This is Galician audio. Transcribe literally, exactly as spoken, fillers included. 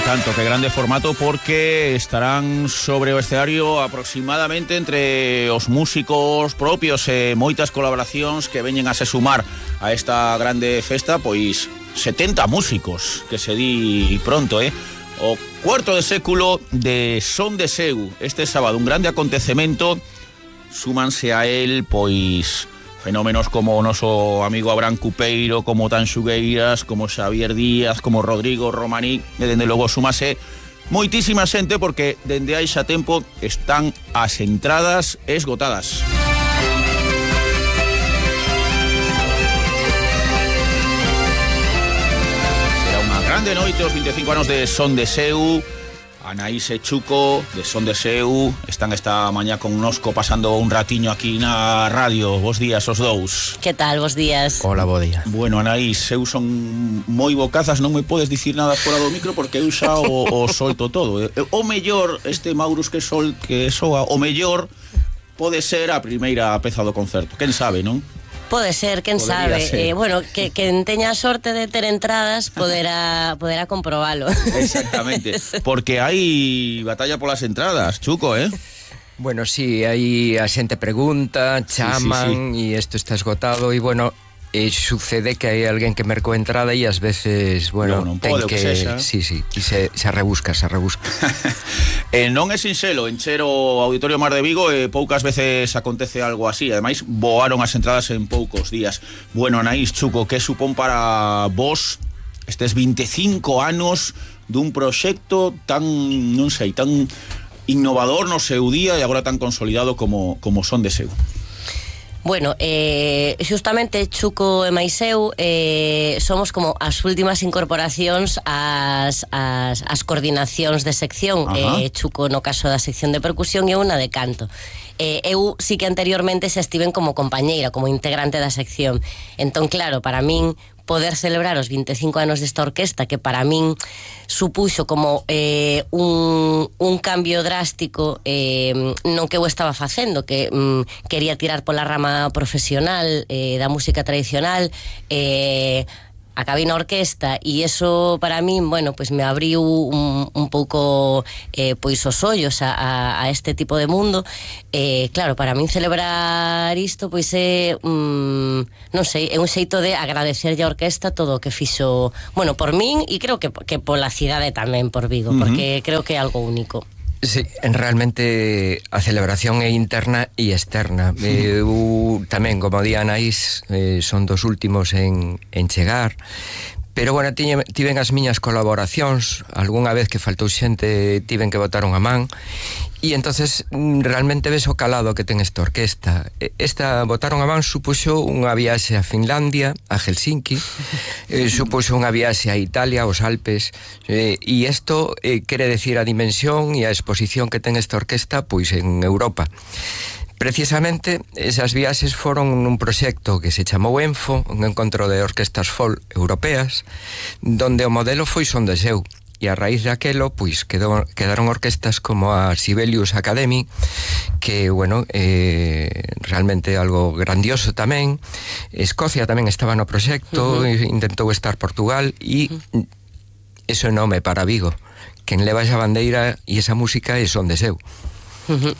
tanto, que grande formato, porque estarán sobre o escenario aproximadamente entre os músicos propios e moitas colaboracións que veñen a se sumar a esta grande festa, pois setenta músicos, que se di pronto, eh? O cuarto de século de Son de Seu, este sábado, un grande acontecemento, súmanse a él, pois... fenómenos como o noso amigo Abraham Cupeiro, como Tanxugueiras, como Xavier Díaz, como Rodrigo Romaní, e dende logo súmase moitísima xente, porque dende hai xa tempo están as entradas esgotadas. Será unha grande noite os vinte e cinco anos de Son de Seu. Anaís e Chuco, de Son de Seu, están esta mañá connosco pasando un ratiño aquí na radio. Bos días os dous. Que tal, bos días? Hola, bo día. Bueno, Anaís, eu son moi bocazas, non me podes dicir nada fora do micro porque eu xa o, o solto todo. O mellor, este Maurus que sol que soa, o mellor pode ser a primeira peza do concerto. Quen sabe, non? Pode ser, quen Podería sabe. ser. Eh, bueno, que quen teña a sorte de ter entradas poderá poderá comprobalo. Exactamente, porque hai batalla polas entradas, Chuco, eh? Bueno, sí, aí a xente pregunta, chaman, sí, sí, sí. E isto está esgotado, e bueno, e sucede que hai alguén que mercou entrada e ás veces, bueno, non, non ten pode, que... que sexa. Sí, sí, e se, se rebusca, se rebusca. E non é sinxelo encher o Auditorio Mar de Vigo, e poucas veces acontece algo así. Ademais, voaron as entradas en poucos días. Bueno, Anaís, Chuco, que supón para vos estes vinte e cinco anos dun proxecto tan, non sei, tan innovador no seu día e agora tan consolidado como, como Son de Seu? Bueno, eh, xustamente Chuco e máis eu eh, somos como as últimas incorporacións ás, ás, ás coordinacións de sección. eh, Chuco no caso da sección de percusión e eu na de canto. eh, Eu sí que anteriormente xa estiven como compañeira, como integrante da sección. Entón, claro, para min poder celebrar os vinte e cinco anos desta orquesta, que para min supuxo como eh, un, un cambio drástico eh, non que eu estaba facendo, que mm, quería tirar pola rama profesional eh, da música tradicional, eh, acabei na orquesta, e eso para min, bueno, pues me abriu un, un pouco eh, pois os ollos a, a, a este tipo de mundo. Eh, claro, para min celebrar isto pois é mm, non sei, é un xeito de agradecerlle a orquesta todo o que fixo, bueno, por min, e creo que, que pola cidade tamén, por Vigo, uh-huh. Porque creo que é algo único. Sí, realmente a celebración é interna e externa. Eu tamén, como di Anaís, eh, son dos últimos en, en chegar, pero, bueno, tiñe, tiven as miñas colaboracións, algunha vez que faltou xente tiven que botar unha man, e entonces realmente ves o calado que ten esta orquesta. Esta botaron a man supuxo unha viaxe a Finlandia, a Helsinki, eh, supuxo unha viaxe a Italia, aos Alpes, eh, e isto eh, quere decir a dimensión e a exposición que ten esta orquesta pois en Europa. Precisamente, esas viaxes foron un proxecto que se chamou ENFO, un encontro de orquestas folk europeas, donde o modelo foi Son de Seu. E a raíz de aquelo, pois, quedou, quedaron orquestas como a Sibelius Academy, que, bueno, eh, realmente algo grandioso tamén. Escocia tamén estaba no proxecto, uh-huh. Intentou estar Portugal, e uh-huh. Eso é nome para Vigo. Quen leva esa bandeira e esa música é Son de Seu. Uh-huh.